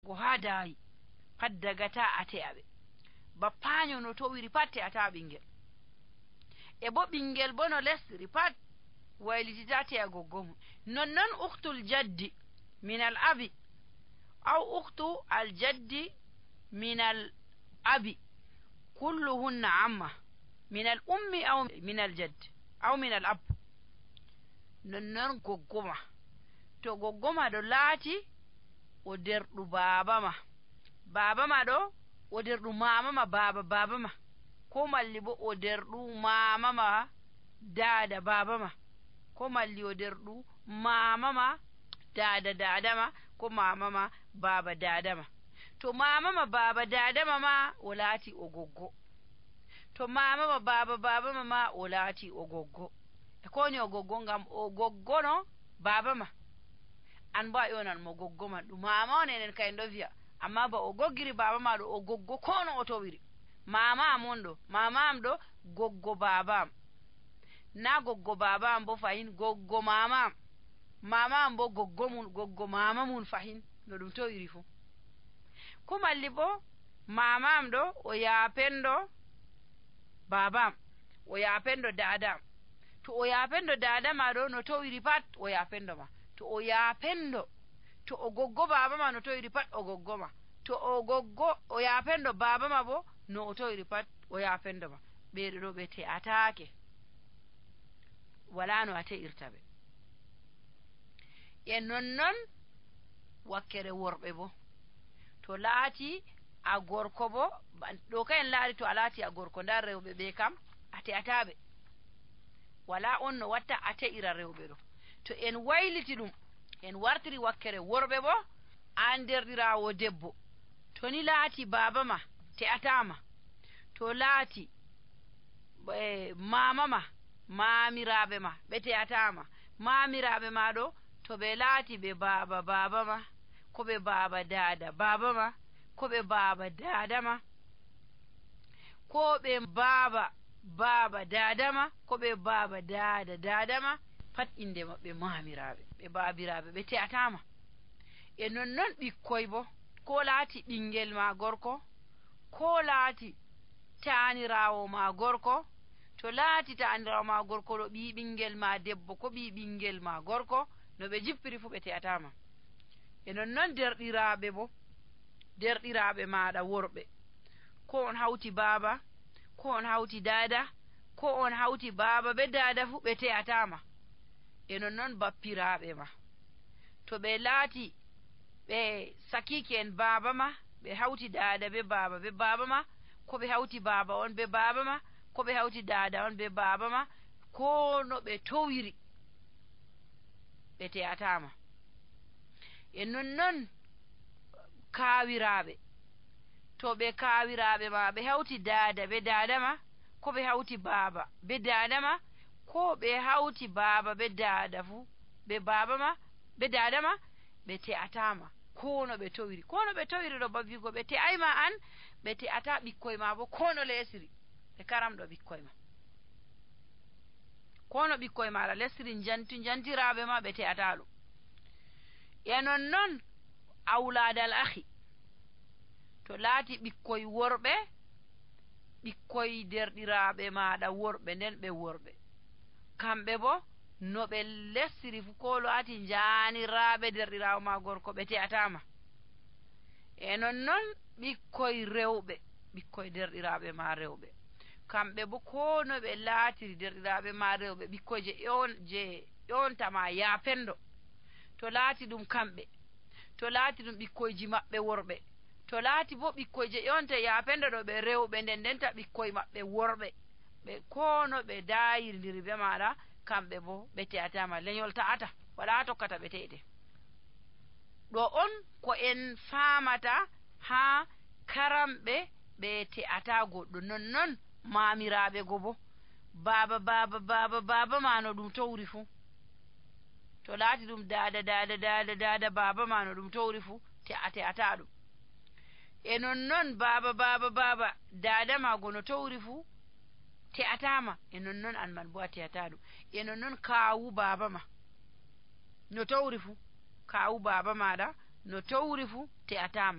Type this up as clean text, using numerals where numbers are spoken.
go ha daayi pat dagata a te'aɓe bappaño no towiri pat te'ata ɓingel e bo ɓingel bo no lesri pat waylitita te'a goggomo nonnon uktul jaddi min al abi aw uktu al jaddi min al abi kulluhunna amma min al ummi aw min al jaddi aw min al ab nonnon goggoma to goggoma ɗo laati o derɗu baaba ma ɗo o derɗu mama ma baba ma ko malli bo o derɗu mama ma dada baba ma ko malli o derɗu mama ma dada ma ko mama ma baba dada ma to mama ma baba dada ma o laati o goggo to mama ma baba ma o laati o goggo e koni o goggo ngam o goggono baba ma an ba yonan mo goggo man ɗum mama on enen kay ndo wiya amma ba o goggiri baba ma ɗo o goggo kono o towiri mama am on ɗo mama am ɗo goggo baba am na goggo baba am bo fahin goggo mama am bo goggo mun goggo mama mun fahin no ɗum towiri fu ko malli bo mama am ɗo o yapendo baba am o yapendo dada am to o yapendo dada ma ɗo no towiri pat o yapendo ma to o yapendo to o goggo baba ma no towiri pat o goggo ma to o goggo o yapendo baba ma bo no o towiri pat o yapendo ma ɓeeɗo ɗo ɓe te'atake wala no a te'irta ɓe e nonnon wakkere worɓe bo to laati a gorko bo ɗo kayen laari to a laati a gorko nda rewɓe ɓe kam a te'ataɓe wala on no watta a te'ira rewɓe ɗo to en wayliti ɗum en wartiri wakkere worɓe bo an derɗirawo debbo to ni laati baba ma te'atama to laati mama ma mamiraɓe ma ɓe te'atama mamiraɓe ma ɗo to ɓe laati ɓe baba ma ko ɓe baba dada baba ma ko ɓe baba dada ma ko ɓe baba dada ma ko ɓe baba dada ma pat inde maɓɓe mamiraɓe ɓe babiraɓe ɓe te'atama e nonnon ɓikkoy bo ko laati ɓingel ma gorko ko laati taanirawo ma gorko to laati taanirawo ma gorko ɗo ɓi ɓingel ma debbo ko ɓi ɓingel ma gorko no ɓe jippiri fu ɓe te'atama e nonnon derɗiraɓe bo derɗiraɓe maɗa worɓe ko on hawti baba ko on hawti dada ko on hawti baba be dada fu ɓe te'atama e nonnon bappiraɓe ma to ɓe laati ɓe sakiki en baba ma ɓe hawti dada be baba ma ko ɓe hawti baba on be baba ma ko ɓe hawti dada on be baba ma ko no ɓe towiri ɓe te'atama e nonnon kawiraɓe to ɓe kawiraɓe ma ɓe hawti dada be dada ma ko ɓe hawti baba be dada ma ko ɓe hawti baba be dada fu be baba ma be dada ma ɓe te'atama kono ɓe towiri ɗo babigo ɓe te'ayma an ɓe te'ata ɓikkoy ma bo kono lesiri ɓe karamɗo ɓikkoy ma kono ɓikkoy maɗa lesiri jantiraɓe ma ɓe te'ata ɗum e nonnon awladal ahi to laati ɓikkoy worɓe ɓikkoy derɗiraɓe maɗa worɓe nden ɓe worɓe kamɓe bo no ɓe lessiri fu ko laati janiraɓe derɗirawo ma gorko ɓe te'atama e nonnon ɓikkoy rewɓe ɓikkoy derɗiraɓe ma rewɓe kamɓe bo ko no ɓe laatiri derɗiraɓe ma rewɓe ɓikkoy je ƴontama yapendo to laati ɗum kamɓe to laati ɗum ɓikkoyji maɓɓe worɓe to laati bo ɓikkoy je ƴonte yapendo ɗo ɓe rewɓe nden ndenta ɓikkoy maɓɓe worɓe ɓe kono ɓe dayirndiri be maɗa kamɓe bo ɓe te'atama leñol ta'ata wala tokkata ɓe te'ete ɗo on ko en famata ha karamɓe ɓe te'ata goɗɗo nonnon mamiraɓe go bo baba ma no ɗum towri fu to laati ɗum dada baba ma no ɗum towri fu te'ata ɗum e nonnon baba dada ma go no towri fu te'atama e nonnon an man bo a te'ata ɗum e nonnon kawu baba ma no towri fu kawu baba maɗa no towri fuu te'atama